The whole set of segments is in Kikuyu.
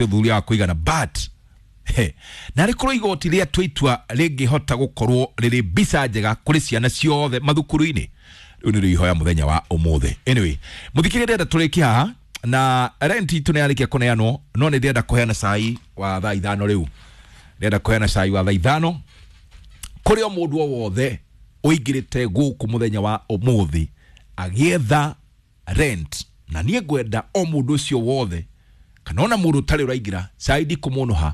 Ũthuthuria wa kũigana, but he, na rĩkorwo igoti rĩatua itua rĩngĩhota gũkorwo rĩrĩ mbica njega kũrĩ ciana ciothe mathukuru-inĩ, rĩu nĩrĩo ihoya mũthenya wa ũmũthĩ. Anyway, mũthikĩrĩria, ndĩrenda tũrĩkie haha na rent itũ nĩ yarĩkia kũneanwo, no nĩ ndĩrenda kũheana cai wa thaa 5. Rĩu ndĩrenda kũheana cai wa thaa 5 kũrĩ o mũndũ o wothe ũingĩrĩte gũkũ mũthenya wa ũmũthĩ agĩetha rent, na niĩ ngwenda o mũndũ ũcio wothe kana ona mũndũ ũtarĩ ũraingĩra cai ndikũmũnũha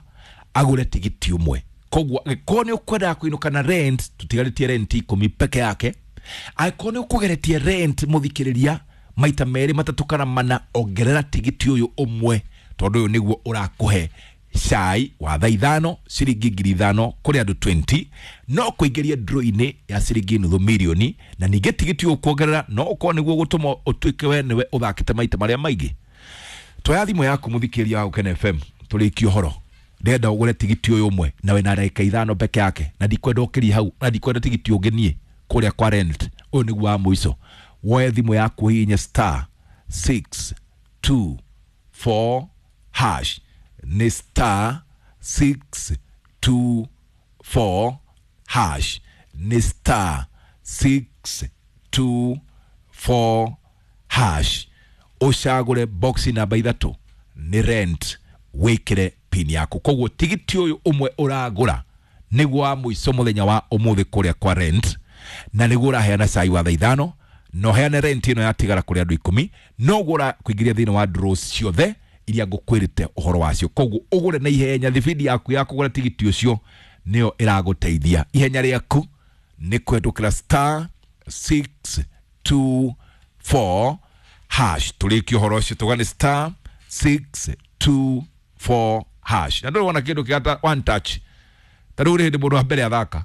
agũre tigiti ũmwe. Koguo angĩkorwo nĩ ũkwendaga kũinũka na rent, tũtigarĩtie rent 10 peke yake. Angĩkorwo nĩ ũkũgeretie rent, mũthikĩrĩria, maita merĩ, matatũ kana mana, ongerera tigiti ũyũ ũmwe, tondũ ũyũ nĩguo ũrakũhe cai wa thaa 5, ciringi 5,000 kũrĩ andũ 20, no kũingĩria draw-inĩ ya ciringi nuthu mirioni. Na ningĩ tigiti ũyũ kuongerera no ũkorwo nĩguo gũtũma ũtuĩke we nĩwe ũthakĩte maita marĩa maingĩ. Twoya thimũ yaku, mũthikĩrĩria wa Gũkena FM, tũrĩkie ũhoro. Ndĩrenda ũgũre tigiti ũyũ ũmwe na wĩna ndagĩka 5 peke yake, na ndikwenda ũkĩrie hau, na ndikwenda tigiti ũngĩ niĩ kũrĩa kwa rent. Ũyũ nĩguo wa mũico. Woe thimũ yaku, ũhihinye *624#. Nĩ *624#, nĩ *624#. Ũcagũre box namba 3, nĩ rent, wĩkĩre pin yaku. Koguo tigiti ũyũ ũmwe ũragũra nĩguo wa mũico mũthenya wa ũmũthĩ kũrĩa kwa rent, na nĩguo ũraheana cai wa thaa 5, na ũheane rent ĩno yatigara kũrĩ andũ 10, noguo ũrakũingĩria thĩinĩ wa draws ciothe iria ngũkwĩrĩte ũhoro wacio. Koguo ũgũre na ihenya. Thibindi yaku ya kũgũra tigiti ũcio nĩyo ĩragũteithia. Ihenya rĩaku nĩ kũhetũkĩra *624#. Tũrĩkie ũhoro ũcio, tuga nĩ *624#. Na ndũrĩ wona kĩndũ kĩgata one touch ta rĩu rĩ hĩndĩ mũndũ wa mbere athaka.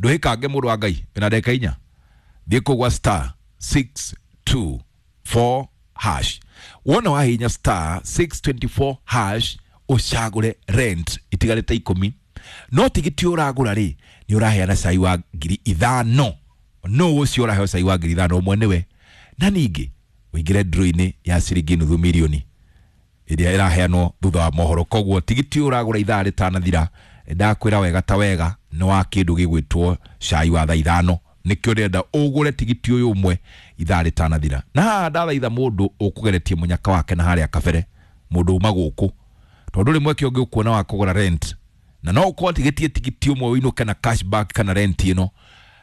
Ndũhĩkange, mũndũ wa Ngai, wĩna ndagĩka 4. Thiĩ kũu gwa *624#. Wona wahihinya *624# ũcagũre rent, itigarĩte 10, no tigiti ũragũra rĩ nĩ ũraheana cai wa 5,000. No ũcio ũraheo cai wa 5,000 ũmwe nĩwe, na ningĩ ũingĩre draw-inĩ ya ciringi nuthu mirioni ĩrĩa ĩraheanwo thutha wa mohoro. Koguo tigiti ũyũ ũragũra ithaa rĩtanathira, ndakwĩra wega ta wega nĩ wa kĩndũ gĩgwĩtwo cai wa thaa 5. Nĩkĩo ndĩrenda ũgũre tigiti ũyũ ũmwe ithaa rĩtanathira. Na haha ndathaitha mũndũ ũkũgeretie mũnyaka wake na harĩa kabere, mũndũ uma gũkũ, tondũ rĩ mweke ũngĩ ũkuona wa kũgũra rent na no ũkorwo tigĩtie tigiti ũmwe ũinũke na cashback kana rent ĩno,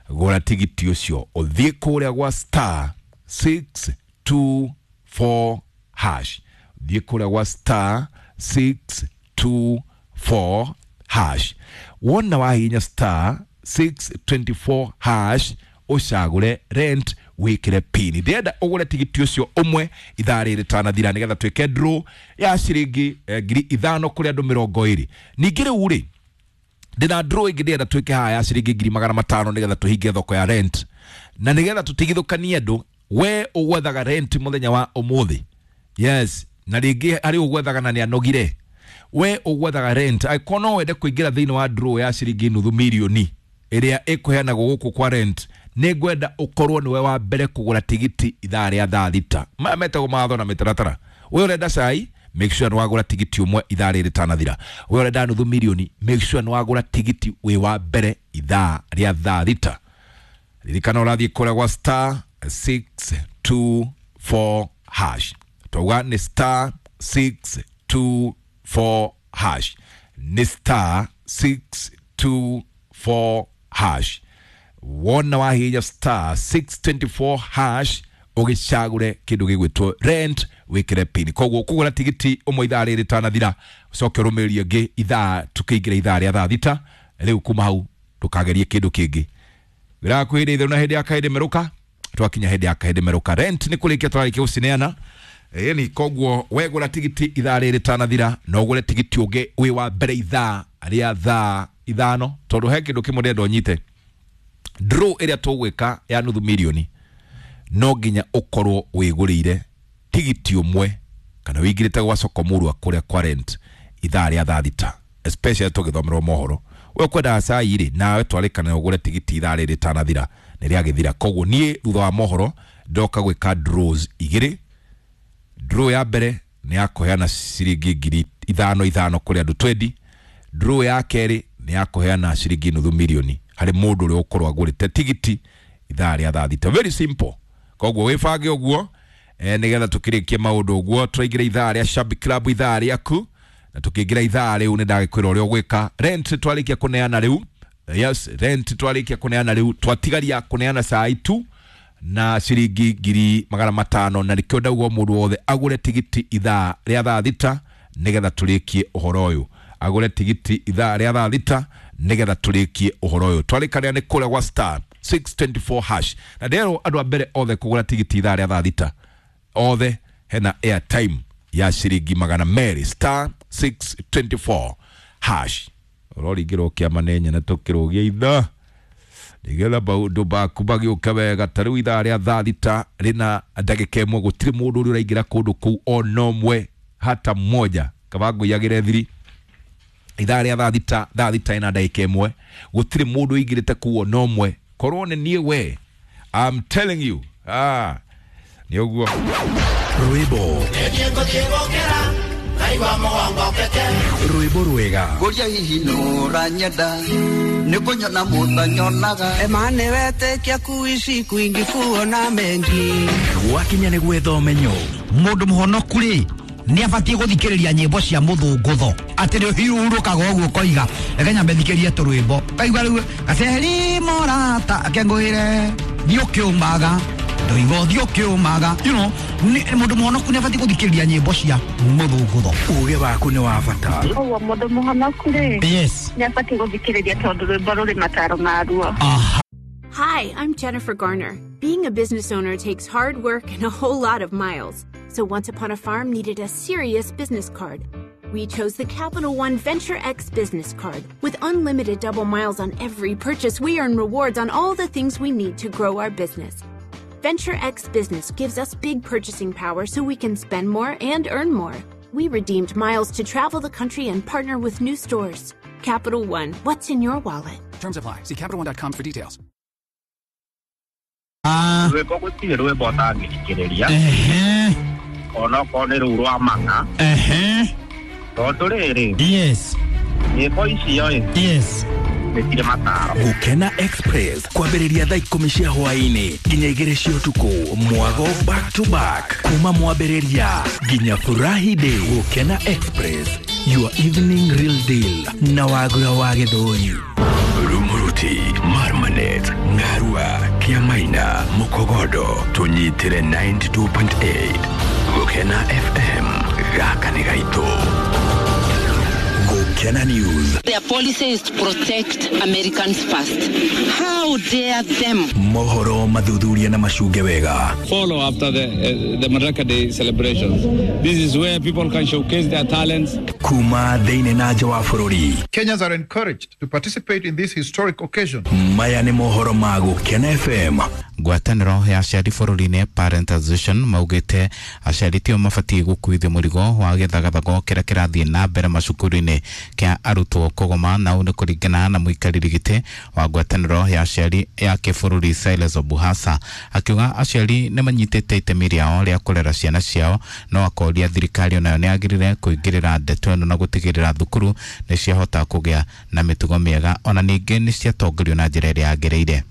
gũra tigiti ũcio, ũthiĩ kũrĩa gwa *624#. Thiĩ kũrĩa gwa *624#. Wona wahihinya *624# ũcagũre rent, wĩkĩre pin. Ndĩrenda ũgũre tigiti ũcio ũmwe ithaa rĩrĩ rĩtanathira, nĩgetha twĩke draw ya ciringi 5,000 kũrĩ andũ 20. Ningĩ rĩu rĩ ndĩna draw ĩngĩ ndĩrenda twĩke haha ya ciringi 500,000, nĩgetha tũhinge thoko ya rent na nĩgetha tũtigithũkanie andũ. We ũgwethaga rent mũthenya wa ũmũthĩ, yes, na rĩngĩ harĩ ũgwethaga na nĩ anogire. We ũgwethaga rent, angĩkorwo no wende kũingĩra thĩinĩ wa draw ya ciringi nuthu mirioni ĩrĩa ĩkũheanagwo gũkũ kwa rent, nĩ ngwenda ũkorwo nĩwe wa mbere kũgũra tigiti ithaa rĩa thaa 6. Maya metagwo mawatho na mĩtaratara. We ũrenda cai, make sure nĩ wagũra tigiti ũmwe ithaa rĩrĩ rĩtanathira. We ũrenda nuthu mirioni, make sure nĩ wagũra tigiti wĩ wa mbere ithaa rĩa thaa 6. Ririkana ũrathiĩ kũrĩa gwa *624#. Twauga nĩ *624#, nĩ *624#. Wona wahihinya *624# ũgĩcagũre kĩndũ gĩgwĩtwo rent, wĩkĩre pin. Koguo kũgũra tigiti ũmwe ithaa rĩrĩ rĩtanathira, ũcoke ũrũmĩrĩrie ĩngĩ ithaa tukĩingĩra ithaa rĩa thaa 6. Rĩu kuma hau ndũkagerie kĩndũ kĩngĩ. Wĩra waku hĩndĩ itherũ na hĩndĩ ya kahĩndĩ merũka. Twakinya hĩndĩ ya kahĩndĩ merũka, rent nĩ kũrĩkia tũrarĩkia gũcineana. Ĩni koguo wegũra tigiti ithaa rĩrĩ rĩtanathira, no ũgũre tigiti ũngĩ wĩ wa mbere ithaa rĩa thaa 5, tondũ he kĩndũ kĩmwe ndĩrenda ũnyite. Draw ĩrĩa tũgwĩka ya nuthu mirioni, no nginya ũkorwo wĩgũrĩire tigiti ũmwe kana wĩingĩrĩte gwa soko mũrua kũrĩa kwa rent ithaa rĩa thaa 6, especially tũgĩthomerwo mohoro. We ũkwendaga cai rĩ, nawe twarĩkana ũgũre tigiti ithaa rĩrĩ rĩtanathira. Nĩ rĩagĩthira. Koguo niĩ thutha wa mohoro ndoka gwĩka draws igĩrĩ. Draw ya mbere nĩ ya kũheana ciringi 5,000 kũrĩ andũ 20. Draw ya kerĩ nĩ ya kũheana ciringi 500,000 harĩ mũndũ ũrĩa ũkorwo agũrĩte tigiti ithaa rĩa thaa thita. Very simple. Koguo wĩbange ũguo nĩgetha tũkĩrĩkie maũndũ ũguo. Tũraingĩra ithaa rĩa Shabik Club, ithaa rĩaku, na tũkĩingĩra ithaa rĩu nĩ ndagĩkwĩra ũrĩa ũgwĩka. Rent twarĩkia kũneana rĩu. Yes, rent twarĩkia kũneana rĩu, twatigaria kũneana cai tu na ciringi 500,000, na nĩkĩo ndauga mũndũ wothe agũre tigiti ithaa rĩa thaa thita nĩgetha tũrĩkie ũhoro ũyũ. Agũre tigiti ithaa rĩa thaa thita nĩgetha tũrĩkie ũhoro ũyũ. Twarĩkanĩra nĩ kũrĩa gwa star 624 hash, na nderwo andũ a mbere othe kũgũra tigiti ithaa rĩa thaa thita othe hena airtime ya ciringi 200, star 624 hash. Ũroringĩrwo kĩama nĩ nyene tũkĩrũgia ithaa nĩgetha maũndũ maku magĩũke wega. Ta rĩu ithaa rĩa thaa thita rĩna ndagĩka ĩmwe, gũtirĩ mũndũ ũrĩa ũraingĩra kũndũ kũu ona ũmwe hata mmoja. Kaba ngũiyagĩre thiri. Ithaa rĩa thaa thita, thaa thita ĩna ndagĩka ĩmwe, gũtirĩ mũndũ ũingĩrĩte kũu ona ũmwe. Korwo nĩ niĩ we, I'm telling you, nĩ ũguo. Rwĩmbo rwĩmbo rwega Ngũria hihi nũranyenda nĩ kũnyona mũtanyonaga Emane wetĩkia kuishi kwingi kuona mengi. Gwakinya nĩ gwetha ũmenyo. Mũndũ mũhonoku rĩ nĩ abatiĩ gũthikĩrĩria nyĩmbo cia mũthũngũtho atĩ nĩ ũhurũkaga ũguo ũkoiga reke nyambe thikĩrie tũrwĩmbo kaigua rĩu gaceri morata akengũĩre thiĩ ũkĩũmaga ndoiga ũthiĩ ũkĩũmaga, you know, mũndũ mũhonoku nĩ abatiĩ gũthikĩrĩria nyĩmbo cia mũthũngũtho. Uge waku nĩ wa bata. Ũguo mũndũ mũhonoku rĩ Yes. nĩ abatiĩ gũthikĩrĩria tondũ rwĩmbo rũrĩ mataro maruo. Aha. Hi, I'm Jennifer Garner. Being a business owner takes hard work and a whole lot of miles. So Once Upon a Farm needed a serious business card. We chose the Capital One Venture X business card. With unlimited double miles on every purchase, we earn rewards on all the things we need to grow our business. Venture X Business gives us big purchasing power so we can spend more and earn more. We redeemed miles to travel the country and partner with new stores. Capital One, what's in your wallet? Terms apply. See CapitalOne.com for details. Rwĩmbo gũtirĩ rwĩmbo ũtangĩthikĩrĩria Ehe. onokorwo nĩ rũu rwa mang'a Ehe. tondũ rĩrĩ Yes. nyĩmbo icio ĩ Yes. nĩ cirĩ mataro. Gũkena Express kwambĩrĩria thaa 10 cia hwaĩ-inĩ nginya 2 cia ũtukũ, mwago back to back kuma mwambĩrĩria nginya Furahi Day. Gũkena Express, your evening real deal na Wagura wa Gĩthũri. Rumuruti, Marmanet, Ngarua, Kiamaina, Mukogodo, tunyitire 92.8. Gukena FM, gaka nĩ gaitũ. Gũkena News. Their policy is to protect Americans first. How dare them? Mohoro mathuthuria na macunge wega. Follow after the Madaraka Day celebrations. This is where people can showcase their talents. Kuma thĩinĩ na nja wa bũrũri. Kenyans are encouraged to participate in this historic occasion. Maya nĩ mohoro ma Gũkena FM. Ngwatanĩro ya aciari bũrũri-inĩ Parent Association maugĩte aciari tio mabatiĩ gũkuithio mũrigo wa gĩthagathago kĩrĩa kĩrathiĩ na mbere macukuru-inĩ kĩa arutwo kũgoma, na ũũ nĩ kũringana na mũikarĩri gĩtĩ wa ngwatanĩro ya aciari ya kĩbũrũri Silas Obuhasa, akiuga aciari nĩ manyitĩte itemi rĩao rĩa kũrera ciana ciao, no akoria thirikari onayo nĩ yagĩrĩire kũingĩrĩra ndeto ĩno na gũtigĩrĩra thukuru nĩ ciahota kũgĩa na mĩtugo mĩega, ona ningĩ nĩ ciatongorio na njĩra ĩrĩa yagĩrĩire.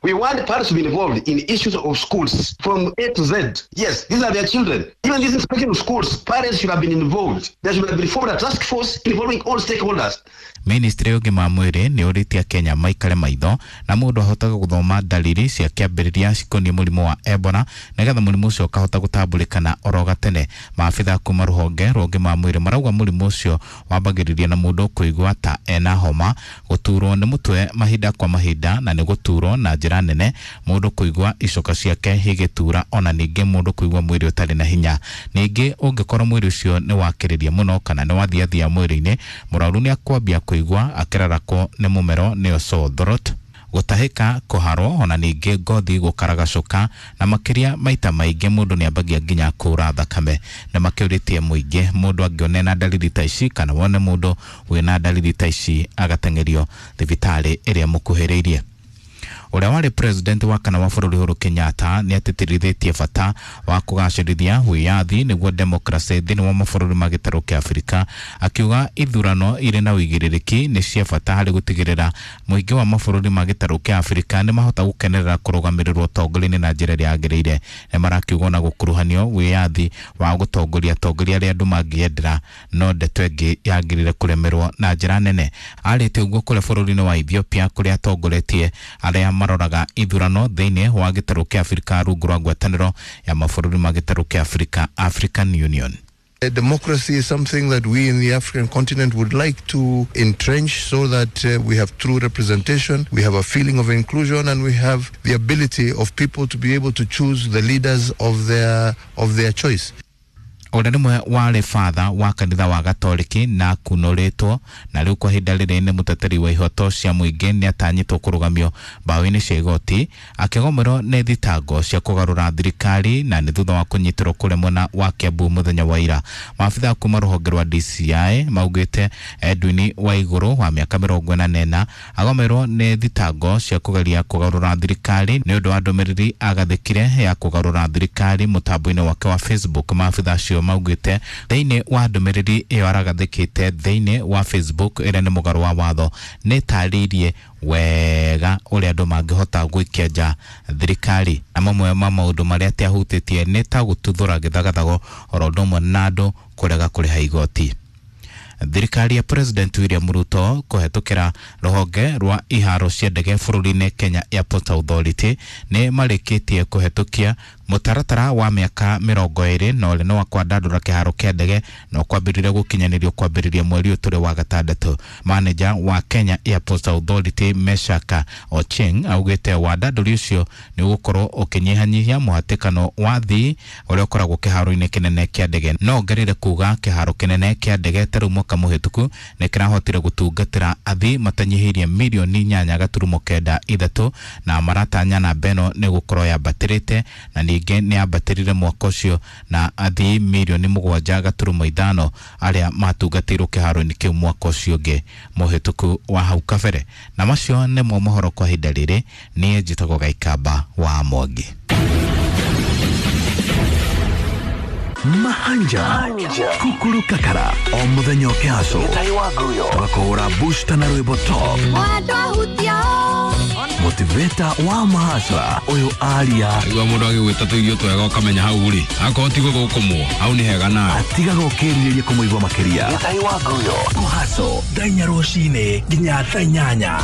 We want parents to be involved in issues of schools from A to Z. Yes, these are their children. Even this inspection of schools, parents should have been involved. There should have been formed a task force involving all stakeholders. Ministry ya ũgima wa mwĩrĩ nĩ ũrĩtie Kenya maikare maitho na mũndũ ahotage gũthoma dalili cia kĩambĩrĩria cikoniĩ mũrimũ wa Ebola nĩgetha mũrimũ ũcio ũkahota gũtambũrĩkana oro gatene. Maabitha kuma rũhonge rwa ũgima wa mwĩrĩ marauga mũrimũ ũcio wambagĩrĩria na mũndũ kũigua ta ena homa, gũturwo nĩ mũtwe mahinda kwa mahinda, na nĩ gũturwo na njĩra nene, mũndũ kũigua icoka ciake igĩtura, ona ningĩ mũndũ kũigua mwĩrĩ ũtarĩ na hinya. Ningĩ ũngĩkorwo mwĩrĩ ũcio nĩ wakĩrĩria mũno kana nĩ wathiathia mwĩrĩ-inĩ, mũrwaru nĩ akwambia kũigua akĩrarakwo nĩ mũmero nĩyo sore throat, gũtahĩka, kũharwo, ona ningĩ ngothi gũkaragacũka, na makĩria maita maingĩ mũndũ nĩambagia nginya kũra thakame. Na makĩũrĩtie mũingĩ mũndũ angĩone na dalili ta ici kana wone mũndũ wĩna dalili ta ici agateng'erio thibitarĩ ĩrĩa mũkuhĩrĩirie. Ũrĩa warĩ president wa kana wa bũrũri Uhuru Kenyatta nĩ atĩtĩrithĩtie bata wa kũgacĩrithia wĩyathi nĩguo demokrasi thĩinĩ wa mabũrũri ma gĩtarũ kĩa Afrika, akiuga ithurano irĩ na ũigĩrĩrĩki nĩ cia bata harĩ gũtigĩrĩra mũingĩ wa mabũrũri ma gĩtarũ kĩa Afrika nĩ mahota gũkenerera kũrũgamĩrĩrwo ũtongoria-inĩ na njĩra ĩrĩa yagĩrĩire. Nĩ marakiuga ona gũkuruhanio wĩyathi wa gũtongoria atongoria arĩa andũ mangĩendera, no ndeto ĩngĩ yagĩrĩire kũremerwo na njĩra nene. Arĩte ũguo kũrĩa bũrũri-inĩ wa Ethiopia kũrĩa atongoretie arĩa maroraga ithurano thĩinĩ wa gĩtarũ kĩa Afrika rungu rwa ngwatanĩro ya mabũrũri ma gĩtarũ kĩa Afrika, African Union. Democracy is something that we in the African continent would like to entrench so that we have true representation, we have a feeling of inclusion, and we have the ability of people to be able to choose the leaders of their choice. Ũrĩa nĩmwe warĩ fatha wa kanitha wa Gatoriki na kunũrĩtwo na rĩu kwa ihinda rĩrĩ nĩ mũteteri wa ihoto cia mũingĩ nĩ atanyĩtwo kũrũgamio mbaũ-inĩ cia igoti akĩgomerwo nĩ thitango cia kũgarũra thirikari na nĩ thutha wa kũnyitĩrwo kũrĩa mwena wa Kiambu mũthenya wa ira. Maabitha kuma rũhonge rwa DCI maugĩte Edwin Waigũrũ wa mĩaka 44 agomerwo nĩ thitango cia kũgeria kũgarũra thirikari nĩ ũndũ wa ndũmĩrĩri agathĩkire ya kũgarũra thirikari mũtambo-inĩ wake wa Facebook. Maabitha acio maugĩte thĩinĩ wa ndũmĩrĩri ĩyo aragathĩkĩte thĩinĩ wa Facebook ĩrĩa nĩ mũgarũ wa watho nĩ tarĩirie wega ũrĩa andũ mangĩhota gũikia nja thirikari, na mamwe ma maũndũ marĩa atiahutĩtie nĩ ta gũtuthũra gĩthagathago oro ũndũ ũmwe na andũ kũrega kũrĩha igoti. Thirikari ya President William Ruto kũhetũkĩra rũhonge rwa iharo cia ndege bũrũri-inĩ Kenya Airport Authority nĩ marĩkĩtie kũhetũkia mũtaratara wa mĩaka 20 na ũrĩa nĩ wa kwandandũra kĩharo kĩa ndege na ũkwambĩrĩria gũkinyanĩrio kwambĩrĩria mweri ũyũ tũrĩ wa gatandatũ. Manager wa Kenya Airport Authority Meshaka Ochieng augĩte wandandũri ũcio nĩ ũgũkorwo ũkĩnyihanyihia mũhatĩkano wa thii ũrĩa ũkoragwo kĩharo-inĩ kĩnene kĩa ndege. No ongerere kuga kĩharo kĩnene kĩa ndege ta rĩu mwaka mũhĩtũku nĩ kĩrahotire gũtungatĩra athii matanyihĩirie mirioni 8.93 na maratanya namba ĩno nĩ gũkorwo yambatĩrĩte na ningĩ nĩ yambatĩrire mwaka ũcio na athii mirioni 7.5 arĩa matungatĩirwo kĩharo-inĩ kĩu mwaka ũcio ũngĩ mũhĩtũku wa hau kabere. Na macio nĩmo mohoro kwa ihinda rĩrĩ. Niĩ njĩtagwo Gaikamba wa Mwangi. Mahanja Kukuru Kakara o muthenya ũkĩhaco tũgakũhũra booster na rwĩmbo top motivator wa mahasra ũyũ aria igua mũndũ agĩgwĩta tũirio twega ũkamenya hau rĩ akorwo ti gũthũkũmwo hau nĩ hega nawe atigaga ũkĩrirĩria kũmũigua makĩria kũhaco thaa inya rũcinĩ nginya thaa 8.